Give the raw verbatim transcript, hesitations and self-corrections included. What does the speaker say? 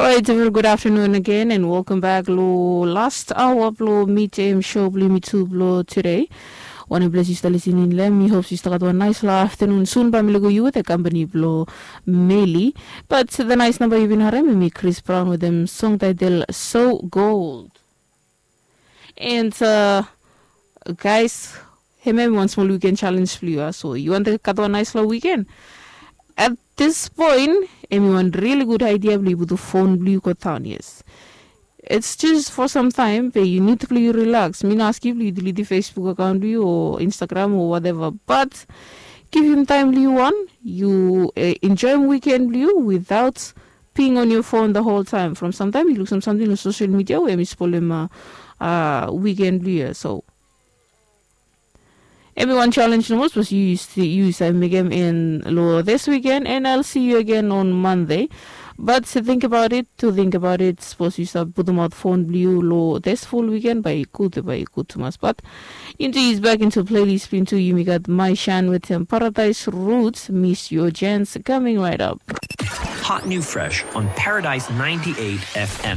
Orait, a very good afternoon again and welcome back lo last hour blo Meet Em show blo yumi tu blo today. Wanem ples yu stap listening long em, mi hope yu stap gat wan nais lo afternoon. Soon bae mi lukim yu wetem company blo Meli. But the nice number yu bin harem, hemi Chris Brown wetem song title So Gold. And uh, guys, hemia hemi wan smol weekend challenge blo yu. So yu wantem gat wan nais lo weekend? At this point, hemi wan really good idea blo yu putum phone blo yu go daon, yes. It's just for some time, be yu nid blo yu relax. Mi no askem yu blo yu deletem Facebook account blo yu o Instagram o whatever, but givim taem blo yu wan, yu uh, enjoem weekend blo yu without being on your phone the whole time. From sometime yu luksum samting long social media we hemi spolem uh, uh, weekend blo yu. So hemi wan challenge nomo, sapos yu yu save mekem in lo this weekend, and I'll see you again on Monday. But think about it, to think about it, sapos yu save putumaot phone blo yu lo this full weekend, bae i gud, bae i gud tumas. But into is back into playlist blo yumi tu, yumi gat Mai Shan wetem Paradise Roots, Miss Your Chance, coming right up. Hot new fresh on Paradise ninety-eight F M.